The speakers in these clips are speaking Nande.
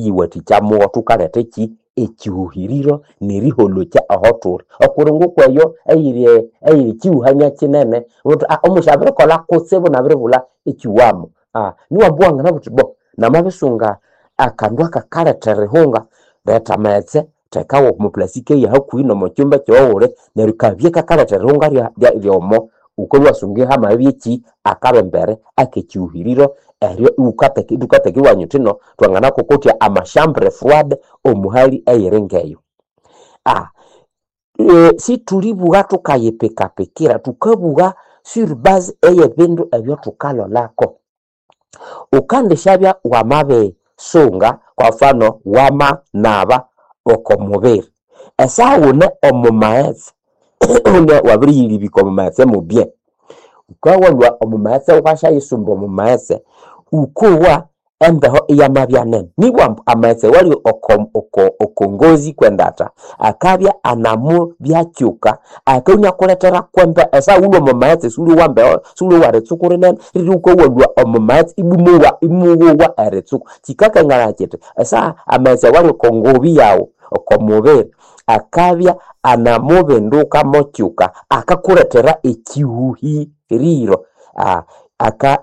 Eriyiwathikya mugho thukaletha eki ekihuhiriro neriholokya aho thuli. Okuli ngokweyo eyiri eyiri ekihuhania kinene wuthi omusi abirikolha kutsibu nabiribulha ekiwamo. Niwamba iwanganabugha wuthi bo namabisunga akandu akakaletha erihunga, letha amaghetse thekawo omo plastic eya hakuhi nomo kyumba ekyoghuli neryo kabye kakaletha erihunga ryomo wukabya iwasunga hamabya eki akabembere akekihuhiriro eryo iwukatheka iwaminya wuthi no thwanganakokotya amashambure froide omuhali eyiri ngeyo. Sithulibugha thukayipikapikira, thukabugha sur base eyebindu ebyathukalholako. Wukandishabya wamabisunga kwa mfano wamanaba oko mubiri, esaha wune omo maghetse wabiriyilibika omo maghetse mubye, wukabya walhwa omo maghetse iwasyayisumba omo maghetse, wukowa embeho iyamabya nene nibwa ambu amaghetse awali oko ngozi kwendatha akabya anamubyakyuka akabya inakulethera kwembeho. Esaha wulhwe omo maghetse siwulyowa mbeho, siwulyowa eritsuku rinene riri wukabya walhwa omo maghetse ibwa imuwowa eritsuku. Kyikakanganaya kyithi esaha amaghetse awali oko ngobi yaghu oko mubiri akabya anamubinduka mokyuka akakulethera ekihuhiriro.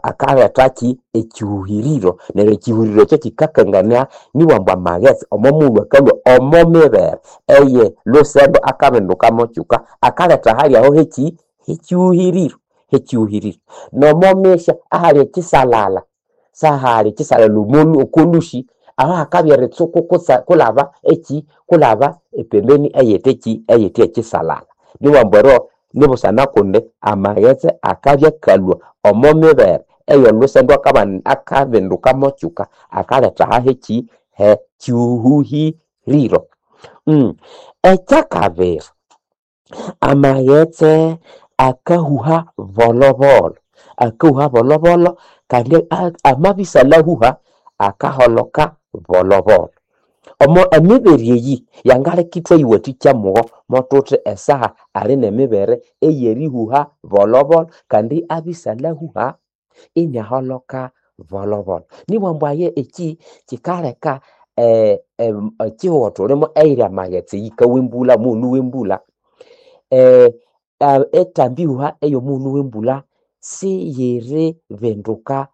Akalethaki ekihuhiriro neryo ekihuhiriro ekyo kyikakangania nibwa ambu amaghetse omo mughulhu akalhwa omo mibere eye lhusembo akabinduka mokyuka akaletha ahali aho heki hekihuhiriro hekihuhiriro. Nomo misya ahali ekisalala sahali ekisalala oko lhusi aho hakabya eritsuku kulhaba eki kulhaba epembeni eyithe eki eyithe ekisalala. Nibughambu ambu eryo nibusana kundi amaghetse akabya akalhwa omo mibere eyolhusendo akabinduka mokyuka akaletha ahaheki hekihuhiriro. Ekyakabiri, amaghetse akahuha bolhobolho, akahuha bolhobolho kandi amabisalhahuha akaholoka bolhobolho. Omo emibere eyi yangaleka ithwayiwathikya mugho mothuthi esaha ali nemibere eyerihuha bolhobolho kandi abisalhahuha iniaholoka bolhobolho. Nibughambu ambu aye eki kyikaleka ekihugho thulimo eyiri amaghetse eyikawa embulha omughulhu wembulha, ethambi ihuha eyomughulhu wembulha siyiribinduka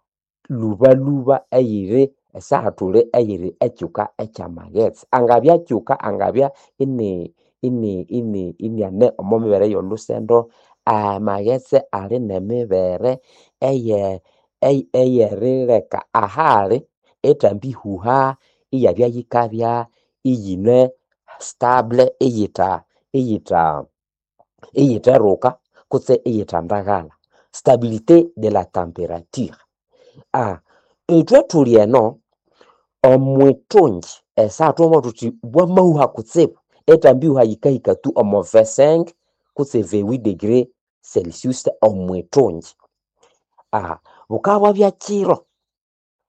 lhubalhuba eyiri esaha thuli eyiri ekyuka ekyamaghetse. Angabya kyuka angabya ini ini ini iniane omo mibere eyolhusendo, amaghetse ali nemibere eye eyerileka ahali ethambi ihuha iyabya yikabya iyine stable iyitha iyitha iyitheruka kutse iyithandaghalha, stabilité de la temperature. Ithwe thuli eno omwithungi esaha thwamabugha thuthi bwamahuha kutsibu ethambi ihuha yikahika tu omo 25 kutse 28 degree celsius omwithungi. Bukabya bwabya kyiro,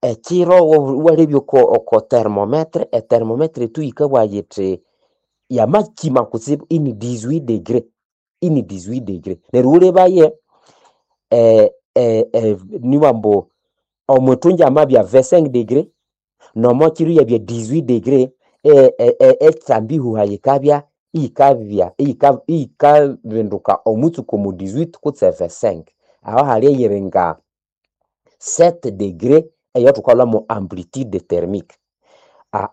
ekyiro iwalebya oko oko thermometer, ethermometer tu yikabugha yithi yamakyima kutsibu ini 18 degree, ini 18 degree. Neryo wulebaye nibughambu ambu omwithungi amabya 25 degree nomokyiro iyabya 18 degree ethambi ihuha yikabya iyikabya iyikabinduka omwitsuku omo 18 kutse 25. Aho hali eyiri nga 7 degree eyathukalhwamo amplitude thermique.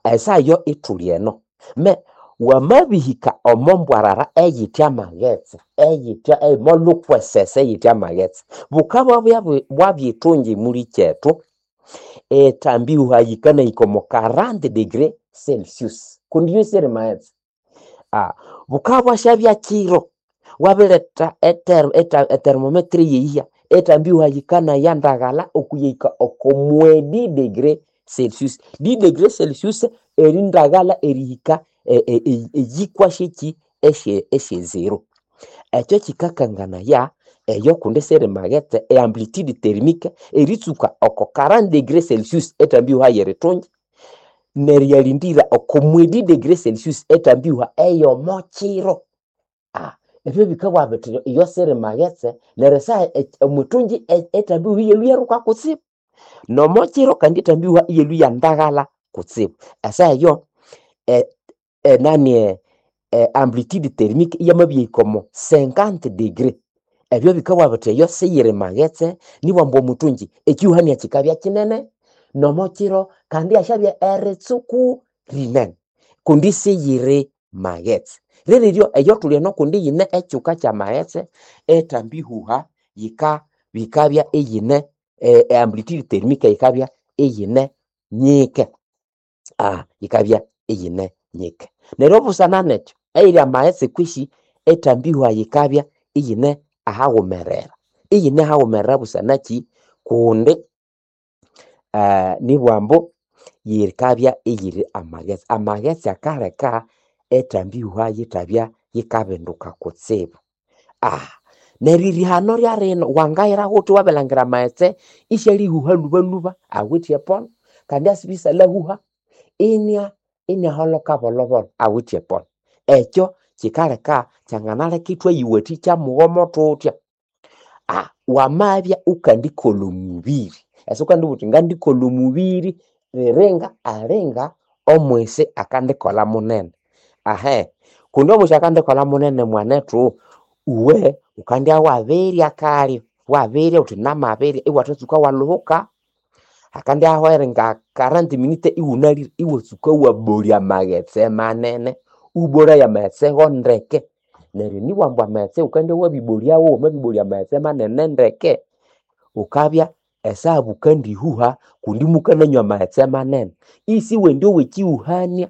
Esaha eyo ithuli eno me wamabihika omo mbwarara eyithe amaghetse eyithe eyimolhukwesese eyithe amaghetse, bukabya bwabya ithungi mulikyethu ethambi ihuha yikanahika omo 40 degree celsius kundi iyo siyiri maghetse. Bukabya bwasyabya kyiro wabiretha ethermometer eyeyiya ethambi ihuha yikanaya ndaghalha okuyahika oko 10 degree celsius. 10 degree celsius erindaghalha erihika eyikwa syeki esye zero. Ekyo kyikakanganaya eyo kundi siri maghetse e amplitude thermique eritsuka oko 40 degree celsius ethambi ihuha yerithungi neryo iyalindira oko 10 degree celsius ethambi ihuha eyomokyiro. Ebyo bikabugha bithi iyo siri maghetse neryo esaha omwithungi ethambi ihuha iyalhwa iyaruka kutsibu nomokyiro kandi ethambi ihuha iyalhwa iyandaghalha. kutsibu. Esaha eyo enani amplitude thermique iyamabya omo 50 degree. Ebyo bikabugha bithi eyo siyiri maghetse, nibwamba omuthungyi ekihuhania kikabya kinene nomo kiro kandi ihasyabya eritsuku rinene kundi siyiri maghetse. Riririryo eyo thuli eno kundi yine ekyuka kyamaghetse ethambi ihuha yika bikabya iyine amplitude thermique yikabya iyine nyike, yikabya iyine nyike. Neryo busana nekyo eyiri amaghetse kwisi ethambi ihuha yikabya iyine ahaghumerera, iyine ahaghumerera busana kyi kundi nibwambu yikabya iyiri amaghetse. Amaghetse akaleka ethambi ihuha yithabya yikabinduka kutsibu. Neryo erihano ryarino wangayira ghuthi wabirilhangira amaghetse isyalihuha lhubalhuba awithe epolo kandi asibya isyalyahuha inya inyaholoka bolhobolho awithe epolo. Ekyo kyikaleka kyanganaleka ithwayiwathikya mughomo thuthya. Wamabya wukandikolha omubiri, ese wukandibugha wuthi ngandikolha omubiri riringa alinga omwisi akandikolha munene. Kundi omwisi akandikolha munene mwanethu, uwe wukandya wabirya kalyo, wabirya wuthi namabirya iwathatsuka walhuhuka, hakandya eringa 40 minute iwunalire iwatsuka wabolya amaghetse manene, iwabolaya amaghetse go ndeke. Neryo nibwambu amaghetse wukandya wabibolyawo, wamabibolya amaghetse manene ndeke, wukabya esaha bukandihuha kundi mukananywa amaghetse manene. Isiwendi ekihuhania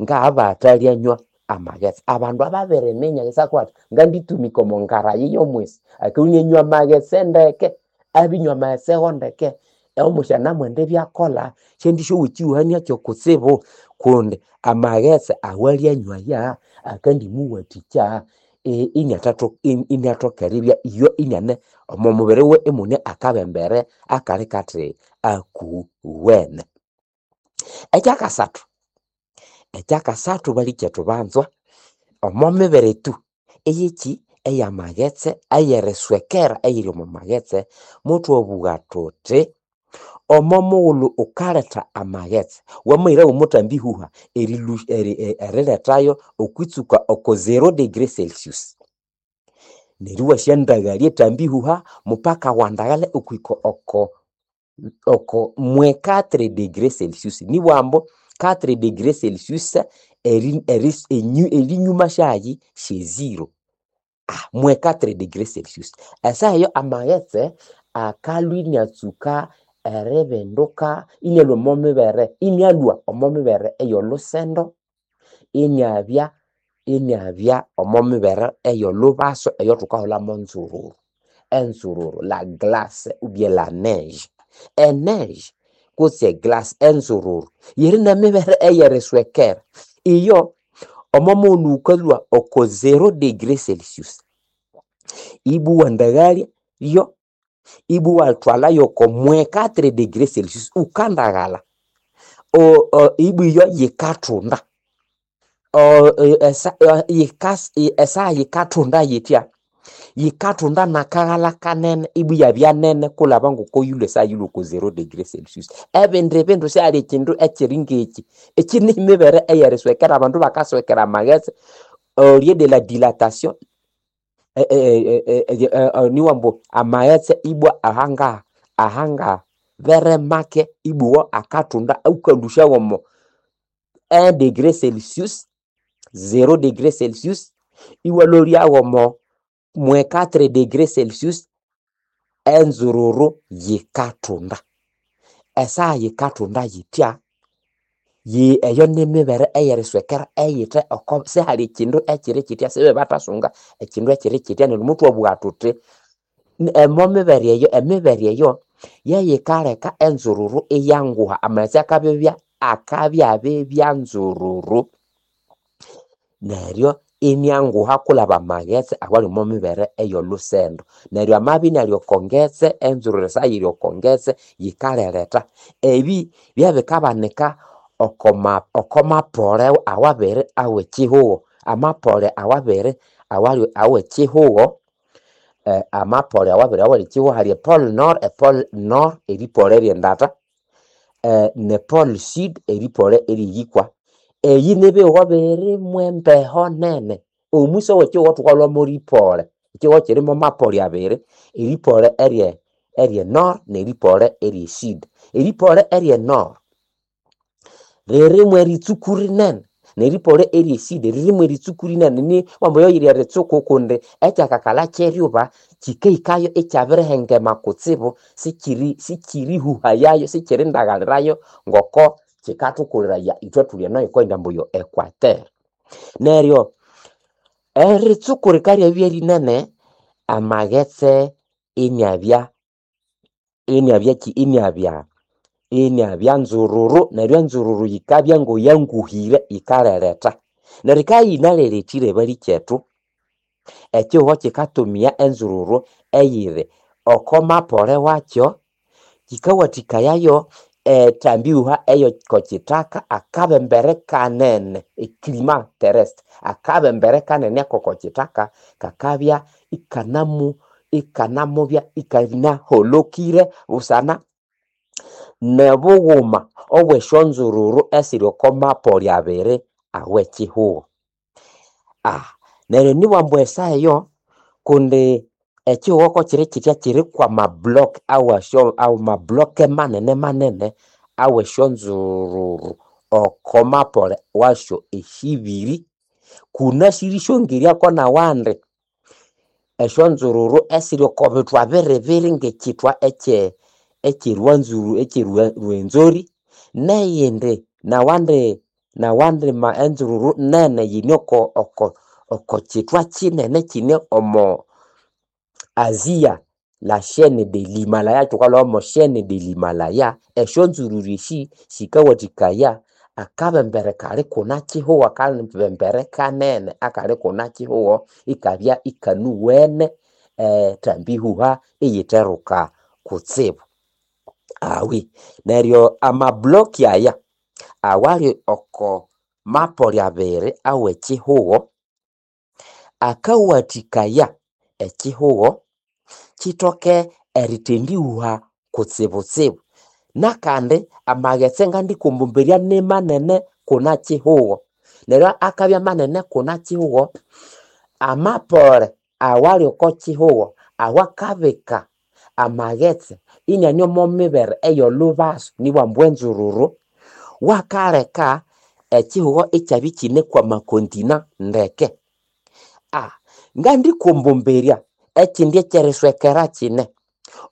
ngabathalyanywa amaghetse. Abandu ababiriminya isakwa athi nganditumika omo ngarayi yomwisi akabya inanywa amaghetse ndeke, abinywa amaghetse go ndeke, omwisi anamwenda ibyakolha syandisyowa ekihuhania kyokutsibu kundi amaghetse awalyanywa aya akandimuwathikya iniathoka eribya iyo iniane omo mubiri wiwe imune akabembere akali kathi akuwene. Ekyakasathu, ekyakasathu balikyethu banzwa, omo mibere etu eyekyi eyamaghetse eyeriswekera eyiri omo maghetse, muthwabugha thuthi omo mughulhu wukaletha amaghetse wamahirawo omuthambi ihuha erilethayo okwitsuka oko 0 degree celsius. Neryo iwasyandaghalya ethambi ihuha mupaka wandaghalya okwihika oko oko 4 degree celsius. Nibwambu 4 degree celsius erinyuma syayi syezero. 4 degree celsius. Esaha eyo amaghetse akalhwa iniatsuka eribinduka inialhwa omo mibere inialhwa omo mibere ey'olhusendo iniabya iniabya omo mibere ey'olhubaso eyothukahulhamu nzururu. Enzururu la glace ou bien la neige. Eneige kutse eglace enzururu yiri nemibere eyeriswekera. Iyo omo mughulhu wukalhwa oko 0 degree celsius ibwa iwandaghalya yo ibwa iwathwala yoko 4 degree celsius wukandaghala ibwa iyo yikathunda. Esaha yikathunda yithya, yikathunda nakaghalha kanene ibwa iyabya nene kulhaba ngoko yilhwe esaha yilhwe oko 0 degree celsius. Ebindi bindu sihali ekyindu ekyiri ngekyi. Ekyi nimibere eyeriswekera abandu bakaswekera amaghetse au lieu de la dilatation niwambu amaghetse ibwa ahangaha ahangaha bere make ibwa akathunda awukalhusya womo 1 degree celsius, 0 degree celsius iwalholya womo 4 degree celsius enzururu yikathunda. Esaha yikathunda yithya, eyo nimibere eyeriswekera eyithe oko sihali ekyindu ekyiri kyithya sibebathasunga ekyindu ekyiri kyithya neryo muthwabugha thuthi omo mibere eyo emibere eyo yeyikaleka enzururu iyanguha amaghetse akabibya akabyabibya nzururu neryo inyanguha kulhaba amaghetse awali omo mibere ey'olhusendo. Neryo amabya inali oko ngetse enzururu esaha yiri oko ngetse yikaleretha. Ebi byabikabanika okoma okomapole awabiri awekyihugho. Amapole awabiri awali awekyihugho, amapole awabiri awali ekyihugho hali epole nord, epole nord eripole ryendata. ne pole sud eripole eriyikwa. Eyi nibihugho biri mwembeho nene. Omwisi owekihugho thukalhwa moripole. Ekihugho kiri mwamapole abiri, eripole erye erye nord neripole erye sud. Eripole erye nord ririmu eritsuku rinene neripole erye sud ririmu eritsuku rinene ni wamboyo eritsuku kundi ekyakakalha kyeryuba kikahikayo ikyabirihengema kutsibu sikiri sikirihuhayayo sikirindagalirayo ngoko kikathukuliraya ithwe thuli eno yikoyinda ambu yo equateur. Neryo eritsuku rikaryabya rinene amaghetse iniabya iniabya ki iniabya nzururu neryo enzururu yikabya ngoyanguhire yikalereta. Neryo yikabya yinalelethire balikethu ekihugho kikatumia enzururu eyiri oko mapole wakyo kikawathikayayo ethambihuha eyokokithaka akabembere kanene eclima terrestre akabembere kanene akokokithaka kakabya ikanamu ikanamubya ikanaholokire busana nebughuma obw'esyonzururu esiri oko mapole abiri aw'ekihugho. Neryo nibwa ambu esaha eyo kundi ekihugho kokiri kitya kiri kwamablock awasyo amablock manene manene aw'esyonzururu oko mapole wasyo esibiri kunasiri syongeryako n'awandi esyonzururu esiri oko bithwa biribiri ng'ekithwa ekye ekyerwanzuru ekyerwenzori neyindi nawandi nawandi ma enzururu nene yine oko oko oko kithwa kinene kine omo Asia la chaine de l'Himalaya thukalhwa mo chaine de l'Himalaya esyonzururu esi sikawathikaya akabembere kali kuna kihugho akabembere kanene akali kuna kihugho ikabya ikanuwene ethambihuha iyitheruka kutsibu. Awi neryo amablock aya awali oko mapole abiri aw'ekihugho akawathikaya ekihugho kithoke erithendihuha kutsibutsibu. Nakandi amaghetse ngandikumbumberya nimanene kuna kihugho neryo akabya manene kuna kihugho amapole awali oko kihugho awakabika amaghetse iniane omo mibere ey'olhubaso nibwa ambu enzururu wakaleka ekihugho ikyabya ikine kwamakontina ndeke. Ngandikumbumberya ekindi ekyeriswekera kine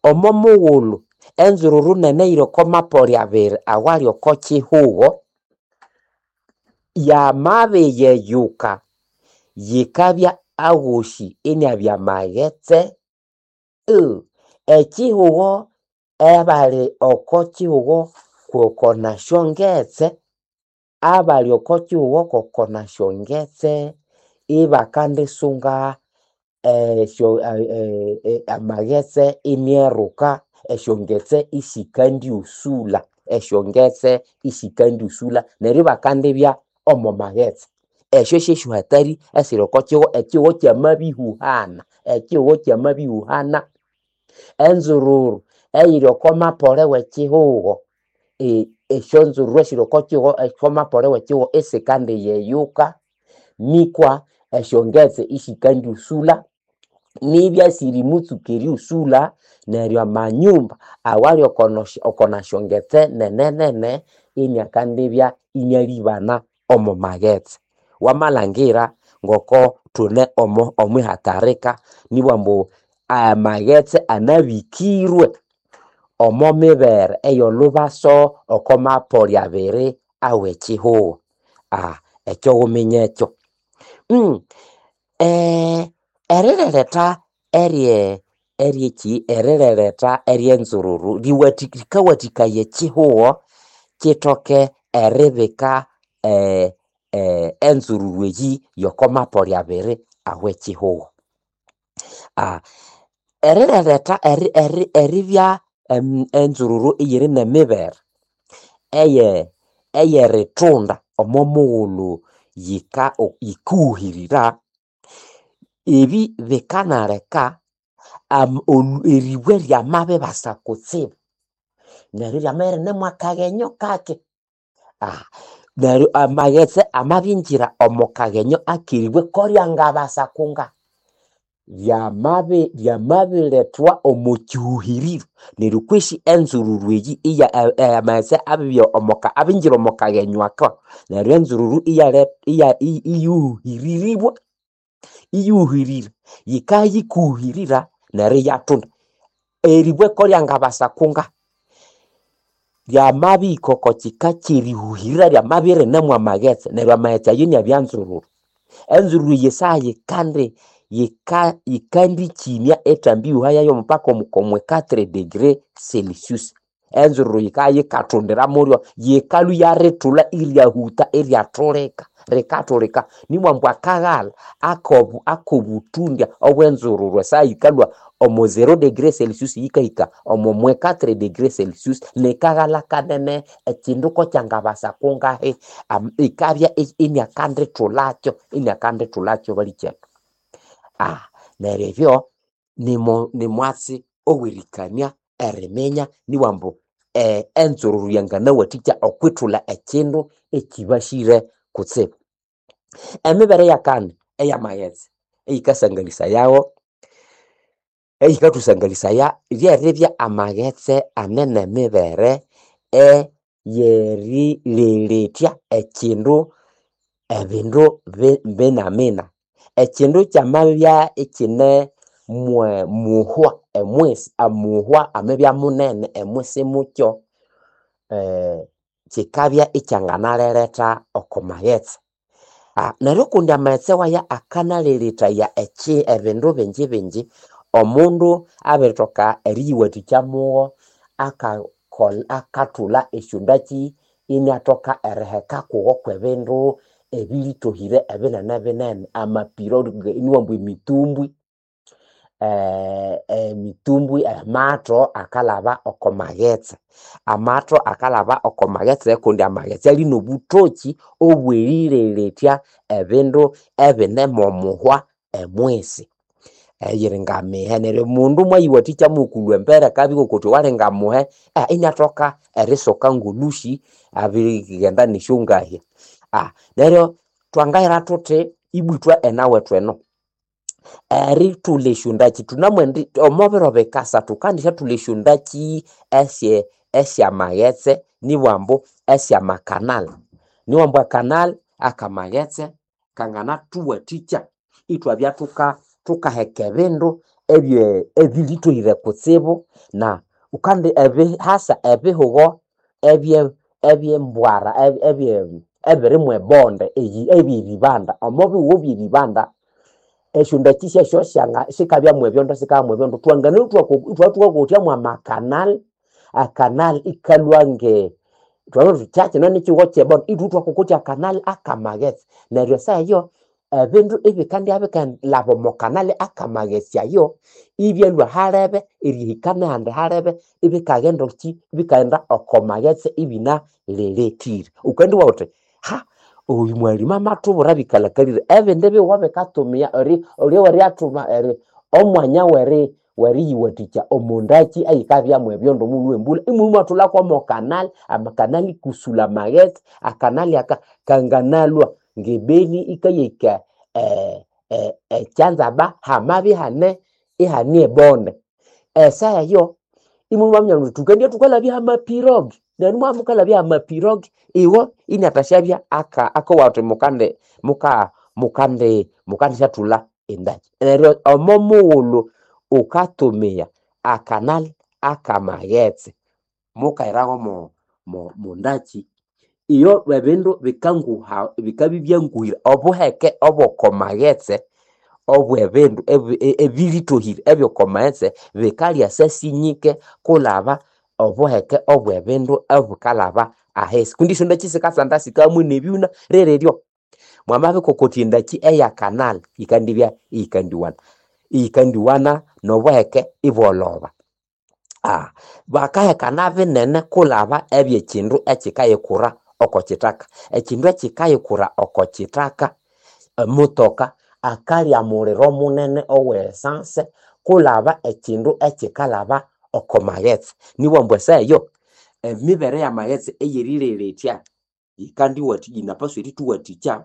omo mughulhu enzururu nene eyiri oko mapole abiri awali oko kihugho yamabiyeyuka yikabya aghosi iniabya maghetse ekihugho abali oko kihugho koko nasyongetse abali oko kihugho koko nasyongetse ibakandisunga esyo amaghetse inieruka esyongetse isikandyusulha esyongetse isikandyusulha neryo ibakandibya omo maghetse. Esyo syesyohatari esiri oko kihugho ekihugho kyamabihuhana ekihugho kyamabihuhana enzururu eyiri oko mapole w'ekihugho esyonzururu esiri oko kihugho oko mapole w'ekihugho isikandiyeyuka nikwa esyongetse isikandyusulha nibya sirimutsuka eryusulha neryo amanyumba awali oko nasyongetse nene nene iniakandibya inialibana omo maghetse. Wamalhangira ngoko thune omo omwihatarika nibwa ambu amaghetse anabikirwe omo mibere ey'olhubaso oko mapole abiri aw'ekihugho. Ekyo wuminye ekyo. Erireretha erye eryeki erireretha ery'enzururu rikawathikaya ekihugho kithoke eribika enzururu eyi y'oko mapole abiri aw'ekihugho. Erireretha eribya enzururu iyiri n'emibere eye ey'erithunda omo mughulhu yika yikuhuhirira ebi bikanaleka eribwe ryamabibasa kutsibu. Neryo iryama irinemu akaghenyo kake. Neryo amaghetse amabingira omo kaghenyo akeribwe koryangabasa kunga, ryamabilethwa omo kyihuhiriro neryo kwesi enzururu eyi iya amaghetse abibya omoka abingira omo kaghenyo ako, neryo enzururu iyale iya iyuhiriribwa, iyuhirira, yikayikuhirira neryo iyathunda. Eribwe koryangabasa kunga, ryamabihika oko kika kyerihuhirira ryamabya irinemu amaghetse neryo amaghetse ayo inabya nzururu. Enzururu eyi esaha yikandi yikandikyinya ethambi ihuha yayo mpaka omo 4 degre celsius. Enzururu yikayikathundira mulyo, yikalhwa iyarithulha iryahutha iryathulika, rikathulika. Nimwambu akaghalha akobuthundya obwenzururu esaha yikalhwa omo 0 degre celsius yikahika omo 4 degre celsius nikaghalha kanene ekyindu kokyangabasa kungahi ikabya iniakandithulhakyo, iniakandithulhakyo balikyethu. Neryo ebyo nimwatsi owerikania eriminya niwambu enzururu yanganawathikya okwithulha ekyindu ekyibasire kutsibu. Emibere eyakani eyamaghetse eyikasangalisayawo, eyikathusangalĩsaya ryeribya amaghetse ane nemibere eyerireletya ekyindu ebindu binamina. Ekyindu kyamabya ikyine muhwa emwisi, amuhwa amabya munene emwisi mukyo, kyikabya ikyanganareretha oko maghetse. Neryo kundi amaghetse waya akanalelethaya ebindu bingi bingi, omundu abirithoka eriyiwathikya mugho akathulha esyondakyi iniathoka eriheka kugo kwebindu ebilithohire ebinene binene, amapiro iniwamba emitumbwi, emitumbwi, amatho akalhaba oko maghetse. Amatho akalhaba oko maghetse kundi amaghetse ali nobuthokyi obwerireletya ebindu ebine momuhwa emwisi. Eyiri ngamihe neryo omundu mwayiwathikya mwokulhwa embere akabya ngoko ali ngamuhe iniathoka erisoka ngolhusi abirighenda nesyongahya. Neryo twangahera thuthi ibwa ithwe enawethu eno, erithulha esyondakyi thunamwendi omo biro bikasa thukandisyathulha esyondakyi esyamaghetse nibwambu esyamakanal. Niwambu ekanal akamaghetse kanganathuwathikya ithwabya thukaheka ebindu ebilithohire kutsibu na wukandi hasa ebihugo ebyembwara ebiri mwebonde ebyeribanda. Omo bihugho byeribanda esyondakyi syasyo sikabya mwebyondo sikabya mwebyondo thwanganalhwa ithwabya thukakotya mwamakanal, akanal ikalhwa nge thwabiri thuthi kyakino nikyihugho kyebonde ithwe ithwakokotya akanal akamaghetse. Neryo esaha eyo ebindu ibikandibya bikalhaba omo kanal akamaghetse ayo ibyalhwa halebe erihika nehandi halebe ibikaghenda kyi ibikaghenda oko maghetse ibinalelekire. Wukandibugha wuthi oyu mwalimu amathubwira ebikalhakalire ebindi bihugho bikatumia eryathuma omwanya weriyiwathikya omondakyi eyikabya mwebyondo mughulhu wembulha imulhwa imwathulhako mwa kanali, amakanali kusula amaghetse, akanali aka kanganalhwa ngebeni ikayahika ekyanzaba hamabya ihane ihane ebonde. Esaha eyo imulhwa mwaminya muthi thukendibya thukalabya hamapirogi neryo mwabya mukalabya hamapirogi iwo iniathasyabya akowa athi mukandi muka mukandi mukandisyathulha endakyi. Neryo omo mughulhu wukatumiya akanali akamaghetse mukahiraho mondakyi iyo ebindu bikanguha bikabya ibyanguhire obuheke obwoko maghetse obwebindu ebilithohire ebyokomaghetse bikalya sinyike kulhaba obuheke obwebindu obukalhaba ahisi kundi esyondakyi sikatsanda sikahamwe nebyuna rereryo mwamabikokotya endakyi eyakanali yikandibya iyikandiwana, iyikandiwana nobuheke ibwolhoba. Bakahekana binene kulhaba ebyekyindu ekyikayikura oko kyithaka. Ekyindu ekyikayikura oko kyithaka emotoka akalya muliro munene owe essence kulhaba ekyindu ekyikalhaba oko maghetse. Nibwambu esaha eyo. Emibere y'amaghetse ey'erileletya yikandiwathi yinapaswa erithuwathikya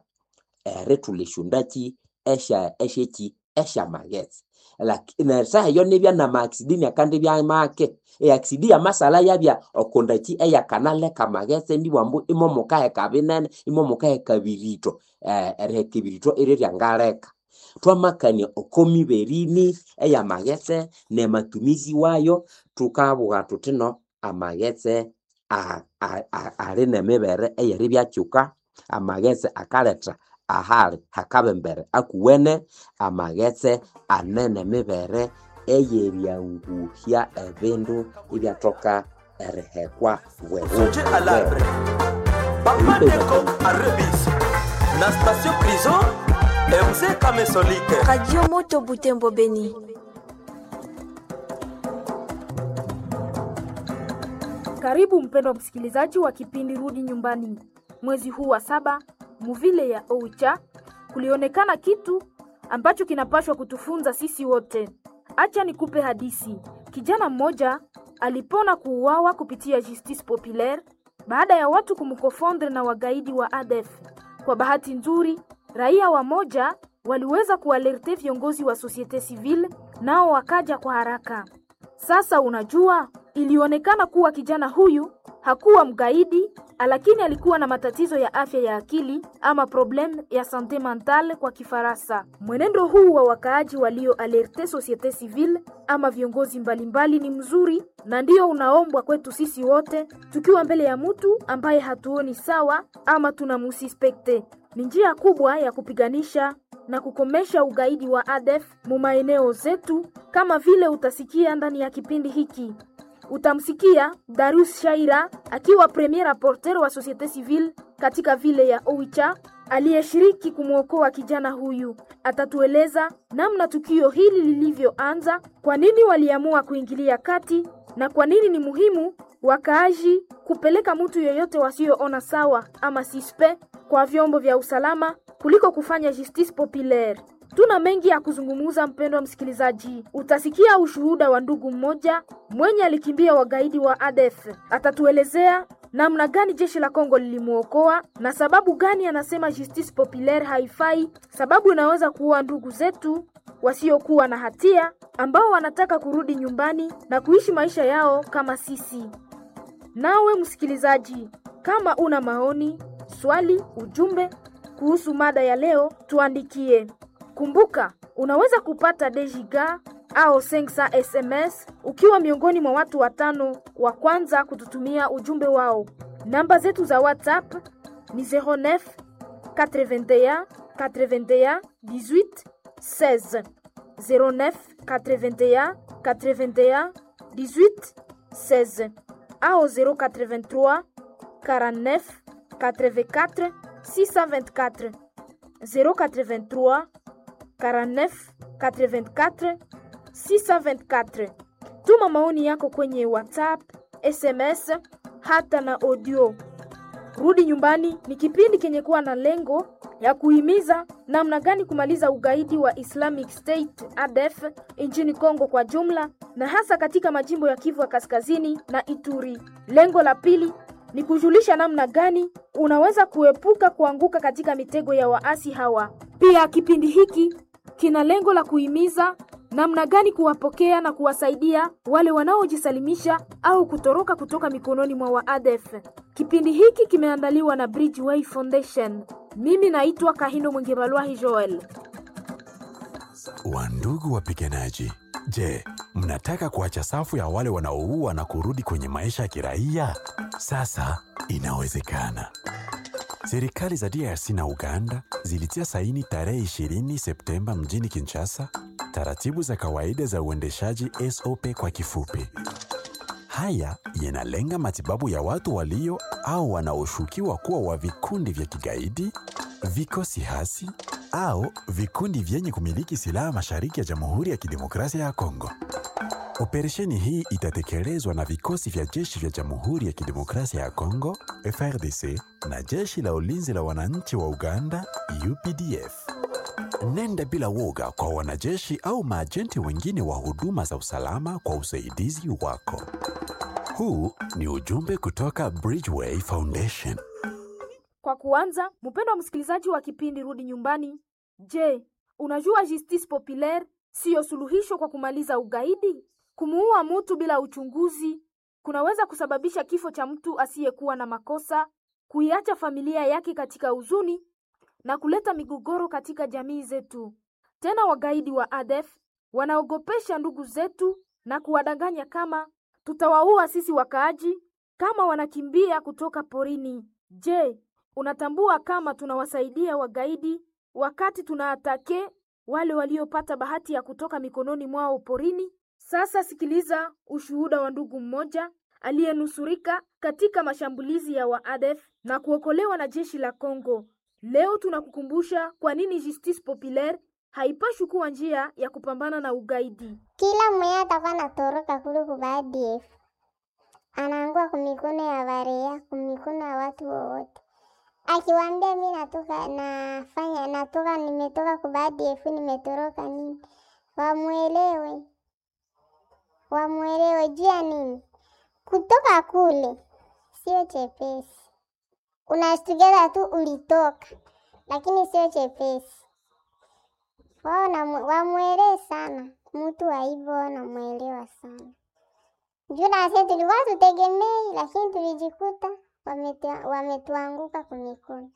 erithulha esyondakyi esya esyeki esyamaghetse. Nesaha eyo nibya nama accident inakandibya make. E accident yamasala yabya okondakyi eyakanaleka amaghetse nibughambu ambu imomukaheka binene, imomukaheka birito, eriheka ebirito irye ryangaleka. Twamakania oko mibere ini eyamaghetse namatumizi wayo, thukabugha thuthi no amaghetse ali nemibere eyeribyakyuka, amaghetse akaletha ahali hakabembere akuwene, amaghetse ane nemibere eyeryanguhya ebindu ibyathoka erihekwa Songe à l'arbre. Papa Deko à Rebis. Na station prison, MZ Kamesolike. Radio Moto Butembo Beni. Karibu mpendwa msikilizaji wa kipindi Rudi Nyumbani. Mwezi huu wa saba, muvile ya Oicha kulionekana kitu ambacho kinapashwa kutufunza sisi wote. Acha nikupe hadisi. Kijana mmoja alipona kuuawa kupitia Justice Populaire baada ya watu kumkofondre na wagaidi wa ADF. Kwa bahati nzuri, raia wamoja waliweza kualerte viongozi wa societe civile, nao wakaja kwa haraka. Sasa unajua, ilionekana kuwa kijana huyu hakuwa mgaidi, lakini alikuwa na matatizo ya afya ya akili ama problem ya sante mentale kwa Kifaransa. Mwenendo huu wa wakaaji walio alerte societe civile ama viongozi mbalimbali ni mzuri na ndio unaombwa kwetu sisi wote tukiwa mbele ya mtu ambaye hatuoni sawa ama tunamusispekte. Ni njia kubwa ya kupiganisha na kukomesha ugaidi wa ADF mu maeneo zetu, kama vile utasikia ndani ya kipindi hiki. Utamsikia Darius Shaira akiwa premier rapporteur wa societe civile katika vile ya Oicha aliyeshiriki kumwokoa kijana huyu. Atatueleza namna tukio hili lilivyoanza, kwa nini waliamua kuingilia kati na kwa nini ni muhimu wakaaji kupeleka mtu yoyote wasioona sawa ama sispe kwa vyombo vya usalama kuliko kufanya justice populaire. Tuna mengi ya kuzungumza, mpendwa msikilizaji. Utasikia ushuhuda wa ndugu mmoja mwenye alikimbia wagaidi wa ADF. Atatuelezea namna gani jeshi la Kongo lilimuokoa na sababu gani anasema justice populaire haifai, sababu inaweza kuua ndugu zetu wasiokuwa na hatia ambao wanataka kurudi nyumbani na kuishi maisha yao kama sisi. Nawe msikilizaji, kama una maoni, swali, ujumbe kuhusu mada ya leo, tuandikie. Kumbuka, unaweza kupata Dejiga au Sensa SMS ukiwa miongoni mwa watu watano wa kwanza kututumia ujumbe wao. Namba zetu za WhatsApp ni 09 81 81 18 16 09 81 81 18 16 au 083 49 84 624 083 49 84 624. Tuma maoni yako kwenye WhatsApp, SMS hata na audio. Rudi Nyumbani ni kipindi kenye kuwa na lengo ya kuhimiza namna gani kumaliza ugaidi wa Islamic State ADF nchini Kongo kwa jumla na hasa katika majimbo ya Kivu ya Kaskazini na Ituri. Lengo la pili ni kujulisha namna gani unaweza kuepuka kuanguka katika mitego ya waasi hawa. Pia kipindi hiki kina lengo la kuhimiza namna gani kuwapokea na kuwasaidia wale wanaojisalimisha au kutoroka kutoka mikononi mwa waadef. Kipindi hiki kimeandaliwa na Bridgeway Foundation. Mimi naitwa Kahindo Mwingebalwahi Joel. Wandugu wapiganaji, je, mnataka kuacha safu ya wale wanaoua na kurudi kwenye maisha ya kiraia? Sasa inawezekana. Serikali za DRC na Uganda zilitia saini tarehe 20 Septemba mjini Kinshasa taratibu za kawaida za uendeshaji SOP kwa kifupi. Haya yanalenga matibabu ya watu walio au wanaoshukiwa kuwa wa vikundi vya kigaidi, vikosi hasi au vikundi vyenye kumiliki silaha mashariki ya Jamhuri ya Kidemokrasia ya Kongo. Operesheni hii itatekelezwa na vikosi vya jeshi vya Jamhuri ya Kidemokrasia ya Kongo, FARDC, na jeshi la ulinzi la wananchi wa Uganda, UPDF. Nenda bila woga kwa wanajeshi au maajenti wengine wa huduma za usalama kwa usaidizi wako. Huu ni ujumbe kutoka Bridgeway Foundation. Kwa kuanza, mpendwa msikilizaji wa kipindi Rudi Nyumbani, je, unajua justice populaire siyo suluhisho kwa kumaliza ugaidi? Kumuua mtu bila uchunguzi kunaweza kusababisha kifo cha mtu asiyekuwa na makosa, kuiacha familia yake katika huzuni na kuleta migogoro katika jamii zetu. Tena wagaidi wa ADF wanaogopesha ndugu zetu na kuwadanganya kama tutawaua sisi wakaaji kama wanakimbia kutoka porini. Je, unatambua kama tunawasaidia wagaidi wakati tunaatake wale waliopata bahati ya kutoka mikononi mwao porini? Sasa sikiliza ushuhuda wa ndugu mmoja aliyenusurika katika mashambulizi ya waadef na kuokolewa na jeshi la Kongo. Leo tunakukumbusha kwa nini Justice Populaire haipashwi kuwa njia ya kupambana na ugaidi. Kila mwenye atakuwa anatoroka kule ku ADF anaangua kumikono ya barea, kumikono ya watu wowote. Akiwaambia mi natoka nafanya natoka nimetoka ku ADF nimetoroka nini, wamwelewe, wamwelewe juu ya nini kutoka kule sio chepesi. Unashtukiza tu ulitoka, lakini sio chepesi. Wao wamwelewe sana mtu wa hivyo, wanamwelewa sana juu na sisi tulikuwa tutegemei, lakini tulijikuta wametuanguka kumikono.